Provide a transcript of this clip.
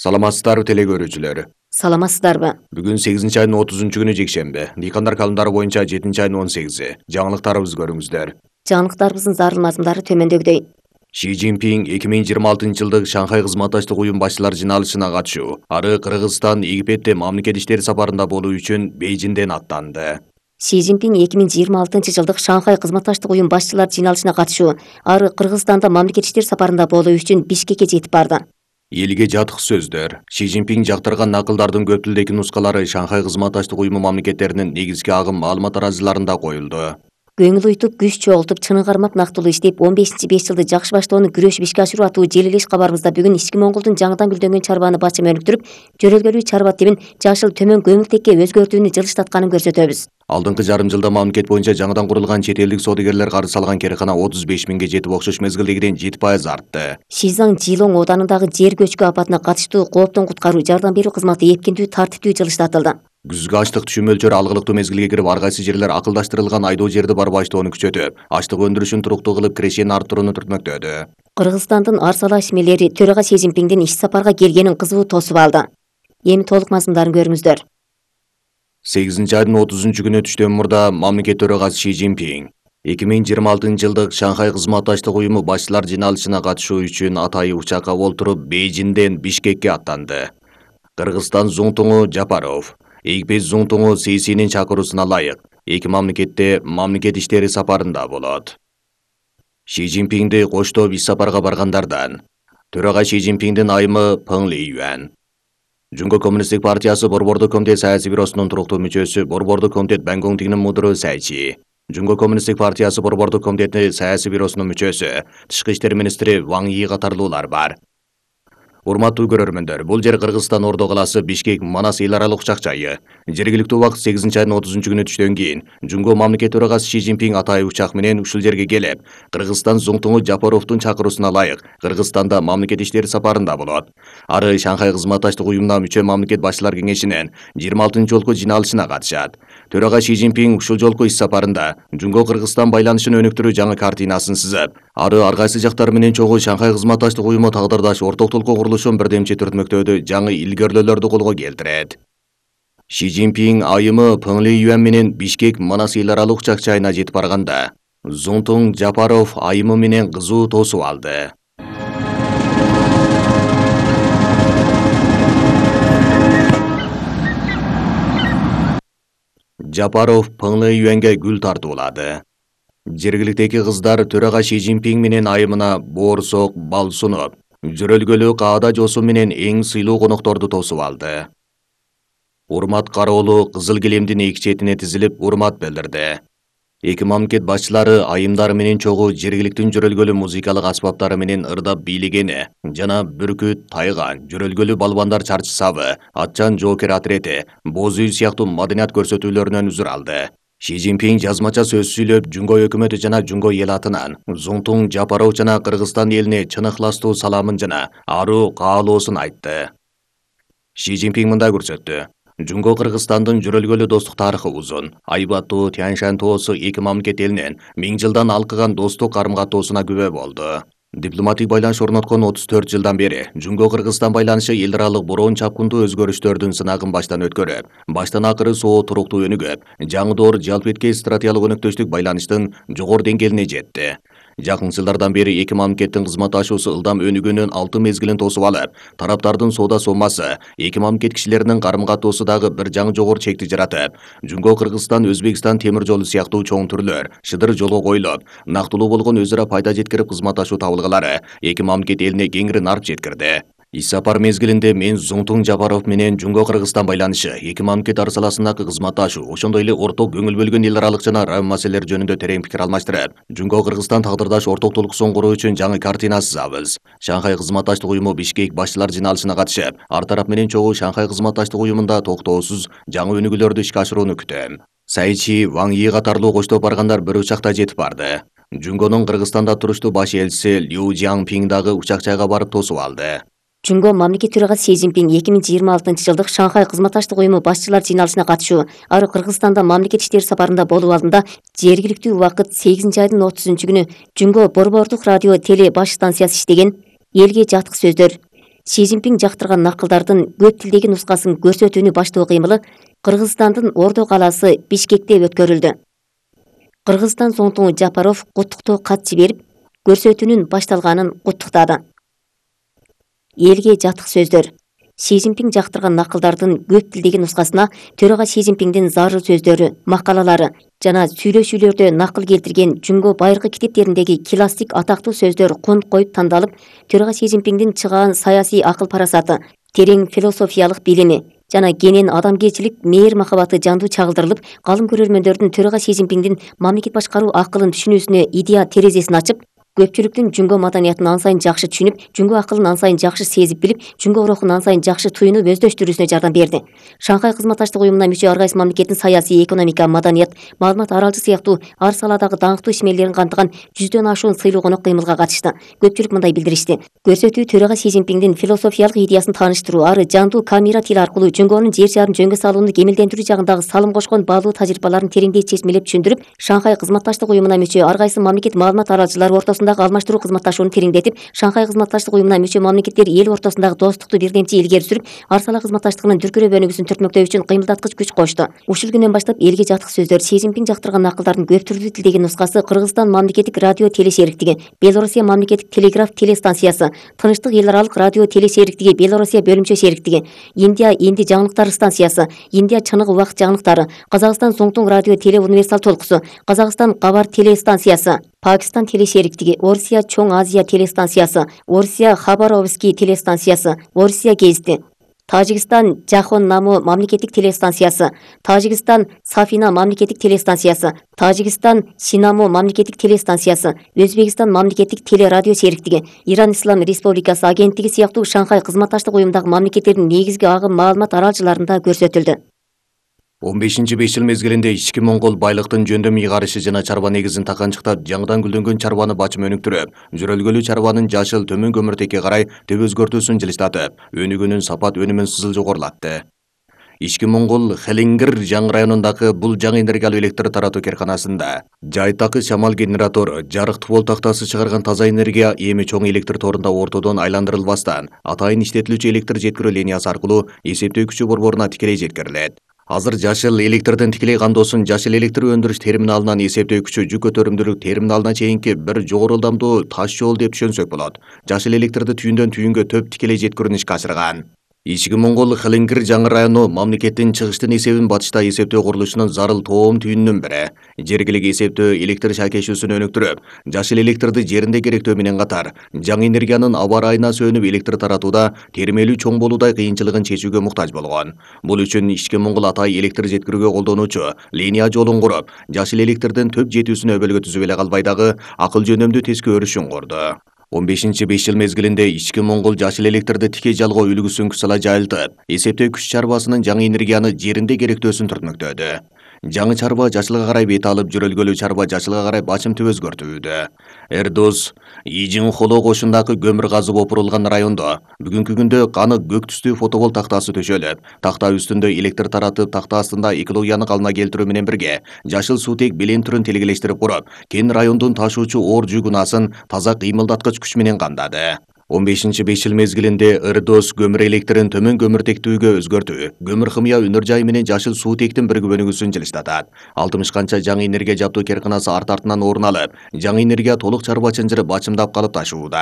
Саламатсыздарбы теле көрүүчүлөр. Саламатсыздарбы? Бүгүн 8-айдын 30-күнү жекшемби. Дыйкандар календары боюнча 7-айдын 18-и. Жаңылыктарыбызды көрүңүздөр. Жаңылыктарыбыздын зарыл мазмундары төмөндөгүдөй. Ши Цзиньпин 2026-жылдык Шанхай кызматташтык уюм башчылар жыйналышына катышуу, ары Кыргызстан, Египетте мамлекет иштери сапарында болуу үчүн Бейжиңден аттанды. Ши Цзиньпин 2026-жылдык Шанхай кызматташтык уюм башчылар жыйналышына катышуу, ары Кыргызстанда мамлекет иштери сапарында болуу үчүн Бишкекке жетип барды. Элге жатык сөздөр. Ши Цзиньпин жактырган накылдардын көп тилдеги нускалары Шанхай кызматташтык уюму мамлекеттеринин негизги агым маалымат тараазыларында коюлду. Көңүл уйтуп, күч чогултуп, чынын кармап нактылуу иштеп, 15-5 жылды жакшы баштоону күрөшүп ишке ашыруу аттуу желилеш кабарыбызда бүгүн ички Монголдун жаңыдан гүлдөнгөн чарбаны бачым өнүктүрүп, жөрөлгөлүү чарба тибин жашыл төмөн көмүртекке өзгөртүүнү жылыштатканын көрсөтөбүз. Алдыңкы жарым жылда мамлекет боюнча жаңыдан курулган чет элдик соодагерлер карыз салган керекана 35 миңге жетип, окшош мезгилдегиден 7% артты. Шизаң Жилоң оданындагы жер көчкү апатына катыштуу кооптон куткаруу жардам берүү кызматы эркиндүү, тартиптүү жылыштатылды. Күзгү ачлык түшүм мөлчөрү алгылыктуу мезгилге кирип, ар кайсы жерлер акылдаштырылган айдоо жерди барбаштоону күчөтүп, ачлык өндүрүшүн туруктуу кылып, кирешени арттырууну түртмөктөдү. Кыргызстандын Арсала ишмелери төрага Си Цзиньпиндин иш сапарга келгенин кызуу тосуп алды. Эми толук мазмундарын көрүңүздөр. 8-айдын 30-күнү түштөн мурда мамлекет төрагасы Ши Цзиньпин 2026-жылдык Шанхай кызматташтык уюму башчылар жыйналышына катышуу үчүн атайы учакка олтуруп Бейжиңден Бишкекке аттанды. Кыргызстан Зуңтуңу Жапаров, Египет Зуңтуңу Сисинин чакыруусуна ылайык эки мамлекетте мамлекет иштери сапарында болот. Ши Цзиньпинди коштоп иш сапарга баргандардан төрага Ши Цзиньпиндин айымы Пeng Лиюань, Жунго коммунисттик партиясы Борбордук комитет саясий бюросунун туруктуу мүчөсү, Борбордук комитет Бангоңтигинин мудуру Сайчи, Жунго коммунисттик партиясы Борбордук комитети саясий бюросунун мүчөсү, Тышкы иштер министри Ван Йи катарлуулар бар. Урматтуу көрөрмөндөр, бул жер Кыргызстан Ордо калаасы Бишкек Манас эл аралык учак жайы. Жергиликтүү убакыт 8-айдын 30-күнү түштөн кийин Жунго мамлекет төрагасы Ши Цзиньпин атайы учак менен ушул жерге келип, Кыргызстан Зуңтуңу Жапаровдун чакыруусуна ылайык Кыргызстанда мамлекет иштери сапарында болот. Ары Шанхай кызматташтык уюмуна мүчө мамлекет башчылар кеңешинин 26-жолку жыйналышына катышат. Төрага Ши Цзиньпин ушул жолку иш сапарында Жунго Кыргызстан байланышын өнүктүрүү жаңы картинасын сызып, ары ар кайсы жактар менен чогуу Шанхай кызматташтык уюму тагдырдаш орток толкоо курулушун бирдемчи түртмөктөөдө жаңы илгөрлөөлөрдү колго келтирет. Ши Цзиньпин айымы Пeng Лиюань менен Бишкек Манас эл аралык учак жайына жетип барганда, Зуңтуң Жапаров айымы менен кызуу тосуп алды. Жапаров Пeng Лиюаньга гүл тартуулады. Жергиликтеги кыздар төрага Ши Цзиньпин менен айымына боорсок, бал сунуп, жөрөлгөлүү каада жосу менен эң сыйлуу конокторду тосуп алды. Урмат кароолу кызыл килемдин эки четине тизилип урмат билдирди. Эки мамлекет башчылары айымдары менен чогуу жергиликтин жөрөлгөлүү музыкалык аспаптары менен ырдап бийлегени жана бүркүт, тайган, жөрөлгөлүү балбандар чарчысабы, атчан жоокер отрети, боз үй сыяктуу маданият көрсөтүүлөрүнөн үзүр алды. Ши Цзиньпин жазмача сөз сүйлөп, Жунго өкмөтү жана Жунго эл атынан Зуңтуң Жапаров жана Кыргызстан элине чын ыхластуу саламын жана аруу каалоосун айтты. Ши Цзиньпин мындай көрсөттү. Жунго Кыргызстандын жөрөлгөлүү достук тарыхы узун. Айбаттуу Тянь-Шань тоосу эки мамлекет элинин 1000 жылдан алкыган достук карым-катоосуна күбө болду. Дипломатик байланыш орноткон 34 жылдан бери Жунго Кыргызстан байланышы эл аралык бороон чапкындуу өзгөрүштөрдүн сынагын баштан өткөрүп, баштан акыры соо туруктуу өнүгүп, жаңы жалпы эткей стратегиялык өнөктөштүк байланыштын жогору деңгээлине жетти. Жакын жылдардан бери эки мамлекеттин кызматташуусу ылдам өнүгүүнүн 6 мезгилин тосуп алып, тараптардын соода соммасы эки мамлекет кишилеринин карым-катоосу дагы бир жаңы жогору чекти жаратып, Жунго Кыргызстан Өзбекстан темир жолу сыяктуу чоң түрлөр шыдыр жолго коюлуп, нактылуу болгон өз ара пайда жеткирип кызматташуу табылгылары эки мамлекет элине кеңири нарп жеткирди. Иш сапар мезгилинде мен Зуңтуң Жапаров менен Жунго Кыргызстан байланышы, эки мамлекет арасындагы кызматташуу, ошондой эле орток көңүл бөлгөн эл аралык жана район маселелери жөнүндө терең пикир алмаштырып, Жунго Кыргызстан тагдырдаш орток толкуусун куруу үчүн жаңы картина сызабыз. Шанхай кызматташтык уюму Бишкек башчылар жыйналышына катышып, ар тарап менен чогуу Шанхай кызматташтык уюмунда токтоосуз жаңы өнүгүүлөрдү ишке ашырууну күтөм. Сайчи, Ван Йи катарлуу коштоп баргандар бір учакта жетип барды. Жунгонун Кыргызстанда туруштуу баш элчиси Лю Жиаңпин дагы учак жайга барып тосуп алды. Жунго мамлекет төрагасы Си Цзиньпин 2026-жылдык Шанхай кызматташтык уюму башчылар жыйналышына катышуу, ары Кыргызстанда мамлекет иштери сапарында болуу алдында жергиликтүү убакыт 8-айдын 30-күнү Жунго Борбордук радио теле баш станциясы иштеген элге жатык сөздөр. Си Цзиньпин жактырган накылдардын көп тилдеги нускасын көрсөтүүнү баштоо кыймылы Кыргызстандын Ордо калаасы Бишкекте өткөрүлдү. Кыргызстан Зоңтуңу Жапаров куттуктоо кат жиберип, көрсөтүүнүн башталганын куттуктады. Элге жатык сөздөр. Си Цзиньпин жактырган накылдардын көп тилдеги нускасына төрага Си Цзиньпиндин зарыл сөздөрү, макалалары жана сүйлөшүүлөрдө накыл келтирген Жүнгө байыркы китептериндеги классик атактуу сөздөр конт коюп тандалып, төрага Си Цзиньпиндин чыгаан саясий акыл-парасаты, терең философиялык билими жана кенен адамгерчилик, мээр махабаты жандуу чагылдырылып, калым көрөрмөндөрдүн төрага Си Цзиньпиндин мамлекет башкаруу акылын түшүнүүсүнө идея терезесин ачып, көпчүлүктүн Жүнгө маданиятын ан сайын жакшы түшүнүп, Жүнгө акылын ан сайын жакшы сезип билип, Жүнгө рухун ан сайын жакшы туюнуп өздөштүрүүсүнө жардам берди. Шанхай кызматташтык уюмуна мүчө ар кайсы мамлекеттин саясий, экономика, маданият, маалымат аралжы сыяктуу ар саладагы даңктуу ишмерлерин камтыган 100дөн ашуун сыйлуу конок кыймылга катышты. Көпчүлүк мындай билдиришти. Көрсөтүү төрага Си Цзиньпиндин философиялык идеясын тааныштыруу, ары жандуу камера тили аркылуу Жүнгөнүн жер шарын жөнгө салууну кемелдендирүү жагындагы салым кошкон баалуу тажрыйбаларын тереңдей чечмелеп түшүндүрүп, Шанхай кызматташтык уюмуна мүчө ар кайсы мамлекет маалымат аралжылары ортосундагы алмаштыруу кызматташууну тереңдетип, Шанхай кызматташтык уюмуна мүчө мамлекеттер эл ортосундагы достукту бирдемчи илгери сүрүп, ар сала кызматташтыгынын дүркүрөө өнүгүүсүн түртмөктөө үчүн кыймылдаткыч күч кошту. Ушул күндөн баштап элге жатык сөздөр Си Цзиньпин жактырган акылдардын көп түрлүү тилдеги нускасы Кыргызстан мамлекеттик радио телешериктиги, Белоруссия мамлекеттик телеграф телестанциясы, Тынчтык эл аралык радио телешериктиги, Белоруссия бөлүмчө шериктиги, Индия энди жаңылыктары станциясы, Индия чыныгы убакыт жаңылыктары, Казакстан Зоңтуң радио теле универсал толкусу, Казакстан Кабар телестанциясы, Пакистан телешериктиги, Орусия Чоң Азия телестанциясы, Орусия Хабаровский телестанциясы, Орусия гезити, Тажикстан Жахон Наму мамлекеттик телестанциясы, Тажикстан Сафина мамлекеттик телестанциясы, Тажикстан Синаму мамлекеттик телестанциясы, Өзбекстан мамлекеттик телерадио сериктиги, Иран Ислам Республикасы агенттиги сыяктуу Шанхай кызматташтык уюмундагы мамлекеттердин негизги агым маалымат аралжыларында көрсөтүлдү. 15-5 жыл мезгилинде ички моңгол байлыктын жөндөм ыйгарышы жана чарба негизин таканчыктап, жаңыдан гүлдөнгөн чарбаны бачым өнүктүрүп, жөрөлгөлүү чарбанын жашыл төмөн көмүртекке карай төп өзгөртүүсүн жылыстатып, өнүгүүнүн сапат өнүмүн сызыл жогорулатты. Ички моңгол Хелингир жаңы районундагы бул жаңы энергиялуу электр таратуу керканасында жайтакы шамал генератор, жарык твол тактасы чыгарган таза энергия эми чоң электр торунда ортодон айландырылбастан, атайын иштетилүүчү электр жеткирүү линиясы аркылуу эсептөө күчү борборуна тикелей жеткирилет. Азыр жашыл электрдин тикелей кандоосун жашыл электр өндүрүш терминалынан эсептөө күчү жүк көтөрүмдүүлүк терминалына чейинки бир жогору ылдамдуу таш жол деп түшөнсөк болот. Жашыл электрди түйүндөн түйүнгө төп тикелей жеткирүүнү ишке ашырган. Ички моңгол Хелингир жаңы району мамлекеттин чыгыштын эсебин батышта эсептөө курулушунун зарыл тоом түйүнүнүн бири. Жергилик эсептөө электр шакешүүсүн өнүктүрүп, жашыл электрди жеринде керектөө менен катар, жаңы энергиянын аба ырайына сөнүп электр таратууда термелүү чоң болуудай кыйынчылыгын чечүүгө муктаж болгон. Бул үчүн Ички моңгол атай электр жеткирүүгө колдонуучу линия жолун куруп, жашыл электрдин төп жетүүсүнө өбөлгө түзүп эле калбай дагы акыл жөнөмдүү тескөө өрүшүн курду. 15-5 жыл мезгилинде Ички моңгол жашыл электрди тикей жалгоо үлгүсүн күч сала жайылтып, эсептөө күч чарбасынын жаңы энергияны жеринде керектөөсүн түртмөктөдү. Жаңы чарба жашылга карай бет алып, жөрөлгөлүү чарба жашылга карай бачымтып өзгөртүүдө. Эрдос Ижинхоло кошундагы көмүр казып опурулган райондо бүгүнкү күндө каны көк түстүү фотовол тактасы төшөлүп, такта үстүндө электр таратып, такта астында экологияны калыбына келтирүү менен бирге жашыл суутек белен түрүн тилгелештирип куруп, кен райондун ташуучу оор жүк унаасын таза кыймылдаткыч күч менен камдады. 15-5 жыл мезгилинде Эрдос көмүр электрин төмөн көмүртектүүгө өзгөртүү, көмүр хымыя өнөр жайы менен жашыл суутектин биригип өнүгүүсүн жылыстатат. 60 канча жаңы энергия жаптуу керканасы арт-артынан орун алып, жаңы энергия толук чарба чынжырып бачымдап калып ташууда.